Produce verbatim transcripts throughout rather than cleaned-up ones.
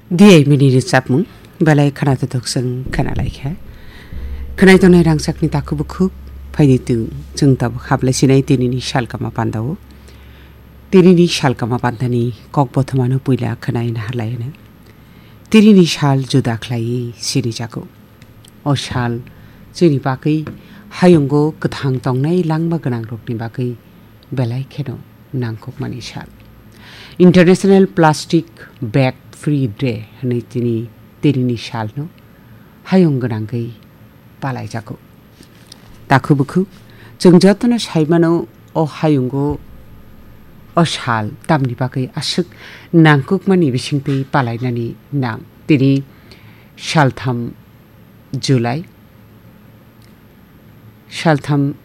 Diya mini rwchapmung, belai khwnaithothok chwng khwnalaikha. Khwnai tongnai rangchakni takhuk bukhuk, phaidi tu chwng tabuk hablai sinai tinini salkama pandao. Tinini salkama pandani kok bothomano puila khwnai naharlaino. Tinini sal juda khlaiwi sinijago. O sal chini bagwi hayungo kwthang tongnai langma gwnangrokni bagwi belai kheno nangkukmani sal. International Plastic Bag Free Day hwnwi tini, tinini salno hayung gwnangwi palaijago. Takhuk bukhuk, chwng jotono saimano o hayungo o sal tamni bagwi aswk nangkukmani bisingtwi palainani nang. Tini saltham July, saltham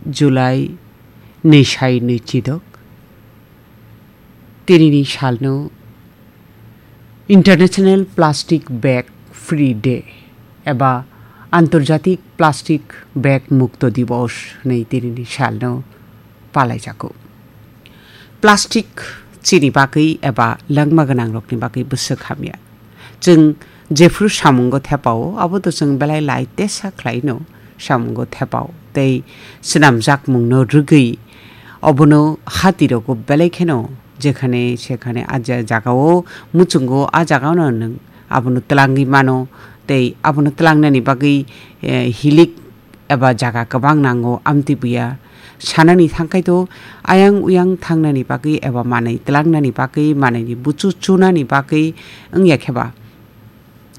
July nwi sai nwi chidok. Tinini salno International Plastic Bag Free Day eba Antarjatik Plastic Bag Mukto Divos hwnwi tinini salno palaijago. Plastic chini bagwi eba langma gwnangrokni bagwi bwswk hamya. Chwng jephru samungo thepao, abo to chwng belai lai tesa khlaino samungo thepao. Tei swnamjakmungno rwgwi obono hatirogo belai kheno jekhane sekhane a ja-, jagao muchungo, a jagao no nwng abono twlangwi mano. Tei abono twlangnani bagwi, eh, hilik eba jaga kwbang nango, amtwi buya. Sanani thangkhai to ayang uyang thangnani bagwi eba manwi twlangnani bagwi, manwini buchu chunani bagwi wngya khe ba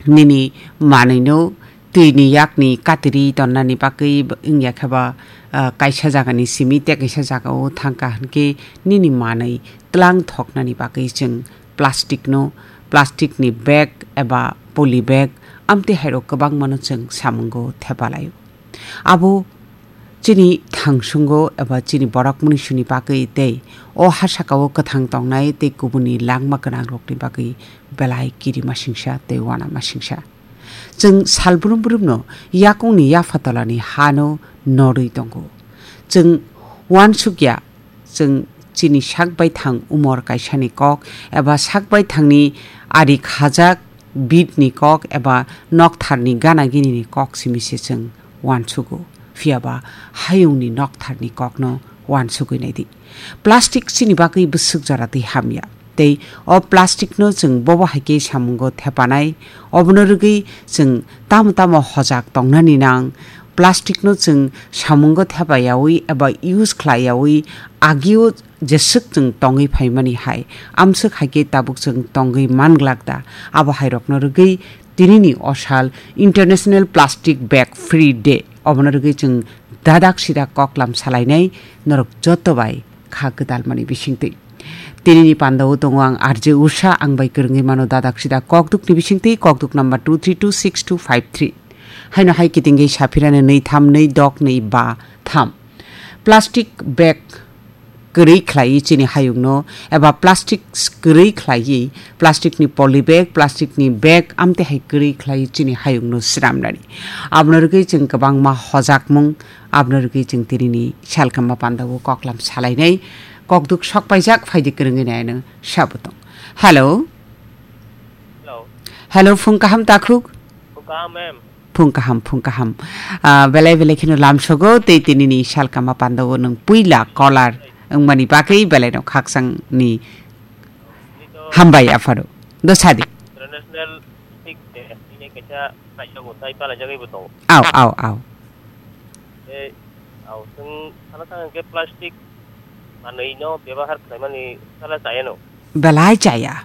nini manwino twini yakni katiri tonnani bagwi wngya khe ba, ah, kaisa jagani simi tei kaisa jagao thangkha hwnkhe nini manwi twlang thoknani bagwi chwng plasticno, plasticni bag eba poly bag amtwi hairok kwbangmano chwng samungo thepalaio. Abo chini thangsungo eba chini borok munisuni bagwi tei o ha sakao kwthang tongnai tei kubuni langma gwnangrokni bagwi belai kirima singsa tei uanama singsa. Chwng sal brum brumno yakungni yaphatolani hano norwi tongo. Chwng uansukya, chwng chini sak baithang umor kaisani kok eba sak baithangni ari khajak bitni kok eba noktharni gana ginini kok simi se chwng uansugo. Phiya ba hayungni noktharni kokno uansugwi naidi. Plastic chini bagwi bwswk jora twi hamya. Tei o plasticno chwng bobo hai khe samungo thepanai, obono rwgwi chwng tamo tamo hojak tongnani nang. Plasticno chwng samungo thepa yaui eba use khlai yaui agio jeswk chwng tongwi phaimani hai, amswk hai khe tabuk chwng tongwi manglak da. Abo hairokno rwgwi tinini o sal International Plastic Bag Free Day. Obono rwgwi chwng dadak sidak koklam salainai norok joto bai kha gwdalmani bisingtwi. Tinini pandao tongo ang R J Usha, ang bai kwrwngwi mano dadak sidak kokdukni bisingtwi, kokduk number two three two six two five three. Haino hai kitingwi saphirani nwi tham nwi dok nwi ba tham. Plastic bag kwrwi khlaiwi chini hayungno eba plastic kwrwi khlaiwi, plasticni poly bag, plasticni bag amtwi hai kwrwi khlaiwi chini hayungno swnamnani. Abono rwgwi chwng kwbangma hojakmung, abono rwgwi chwng tinini salkamba pandao koklam salainai kokduk sokpaijak phaidi kwrwngwi naino sabo tong. Hello. Hello. Hello, phung kaham takhuk? Phung kaham, ma'am. Phung kaham, phung kaham. Ah, belai belai kheno lamsogo tei tinini salkama pandao nwng puila caller wngmani bagwi belaino khakchangni hambai apharo. Dosadi. International Plastic Day, ini kaisa kaisa bo tai pala jagwi bo tongo. Au, au, au. Eh, au, chwng sana thang ke plastic manwi no bebahar khlaimani sala chaya no. Belai chaya.